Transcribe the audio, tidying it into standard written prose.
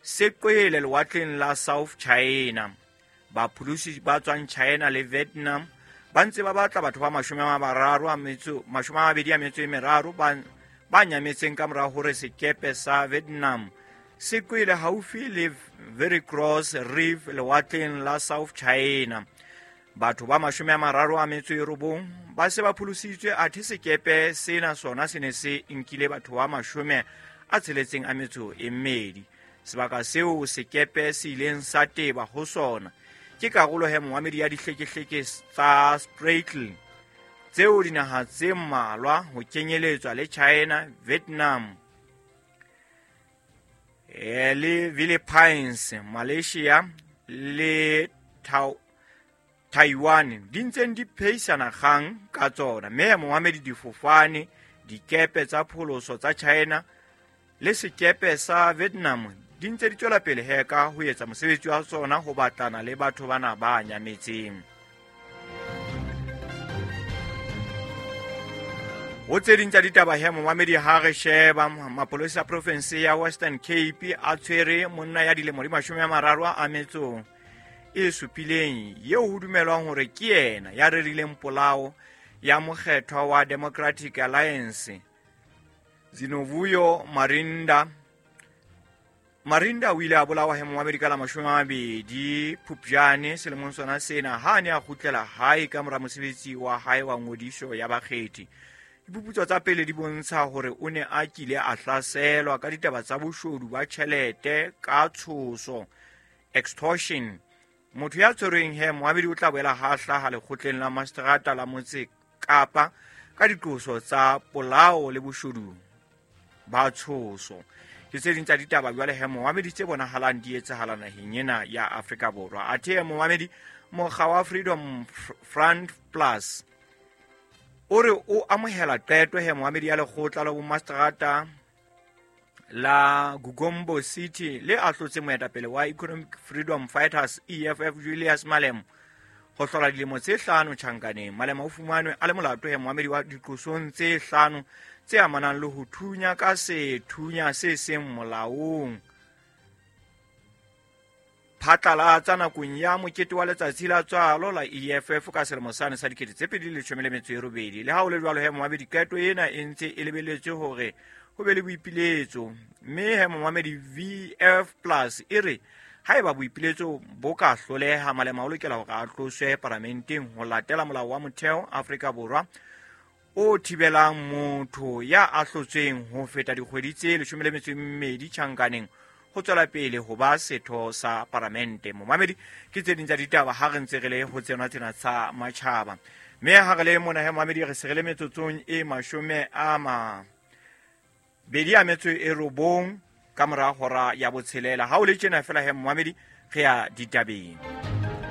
Se qwele lewatleng la South China. Bapholosi ba tswang China le Vietnam ba ntse ba batla batho ba 23 ba nyametseng ka mora hore sekepe sa Vietnam se qwele haufi le Very Cross Reef lewatleng la South China. Batho ba 39 ba se ba pholositswe, athe sekepe sena sona se ne se nkile batho ba 62. Sebaka seo sekepe se ileng sa teba ho sona ke karolo he moamedi ya dihlekehleke tsa Spratly, tseo dinaha tse mmalwa ho kenyeletswa le China, Vietnam le Philippines, Malaysia le Taiwan di ntseng di pheisana kgang ka tsona. Mme moamedi difofane, dikepe tsa pholoso tsa China le sekepe sa Vietnam di ntse di tswela pele he ka ho etsa mosebetsi wa tsona ho batlana le batho bana ba nyametseng. Ho tse ding tsa ditaba he momamedi, ha re sheba mapolesa a province ya Western Cape a tshwere monna ya dilemo di 37 eo ho dumelwang hore ke yena ya rerileng polao ya mokgethwa wa Democratic Alliance Zinovuyo Marinda. Marinda o ile a bolawa he momamedi ka la 20 Phupjane selemong sona sena ha a ne a kgutlela hae ka mora mosebetsi wa hae wa ngodiso ya bakgethi. Diphuputso tsa pele di bontsha hore o ne a kile a hlaselwa ka ditaba tsa boshodu ba tjhelete ka tshoso, extortion. Motho ya tshwerweng he moamedi o tla boela ha hlaha lekgotleng la mastrata la motse Kapa ka diqoso tsa polao le boshodu ba tshoso. Ke tse ding tsa ditaba jwale he moamedi tse bonahalang di etsahala naheng ena ya Afrika Borwa. Athe moamedi, mokga wa Freedom Front Plus o re o amohela qeto he moamedi ya lekgotla la bomastrata la Gugombo City le ahlotse moetapele wa Economic Freedom Fighters EFF Julius Malema ho hlola dilemo tse 5 tjhankaneng. Malema o fumanwe a le molato he moamedi wa diqosong tse 5 tse amanang le ho thunya ka sethunya se seng molaong phatlalatsa nakong ya mokete wa letsatsi la tswalo la EFF ka selemo sane sa 2018. Le ha ho le jwalo he moamedi, qeto ena e ntse e lebeletswe hore ho be le boipiletso, mme he moamedi VF Plus e re haeba boipiletso bo ka hloleha, Malema o lokela hore a tloswe paramenteng ho latela molao wa motheo Afrika Borwa o thibelang motho ya ahlotsweng ho feta dikgwedi tse 12 tjhankaneng ho tswela pele ho ba setho sa paramente. Momamedi, ke tse ding tsa ditaba ha re ntse re le ho tsena tsena tsa matjhaba. Mme ha re le mona he momamedi, re se re le metsotsong e 29 ka mora hora ya 6. Ha o le tjena fela he momamedi, re ya ditabeng.